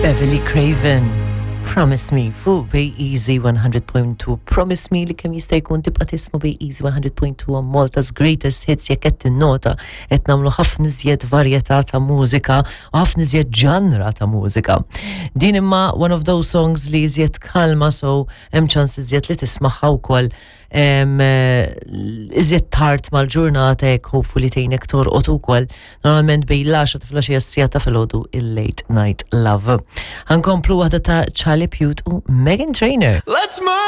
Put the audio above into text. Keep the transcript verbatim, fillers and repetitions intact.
Beverly Craven. Promise Me fuq Bay Easy one hundred point two. Promise me li kemm jista' jkun tibqa' tisma' Bay Easy one hundred point two on Malta's Greatest Hits. Jekk qed tinnota, qed nagħmlu ħafna iżjed varjetà ta' mużika u ħafna iżjed ġanra ta' mużika. Din imma one of those songs li iżjed kalma, so hemm ċans iżjed li tismagħha wkoll em, eh, iżjed tard mal-ġurnata jekk hopefully tgħinek torqod ukoll, normalment bejn l-għaxra ta' filgħaxija, s-siegħa ta' filgħodu, il-Late Night Love. Ħa nkomplu waħda ta' Charlie Puth u Meghan Trainor. Let's move.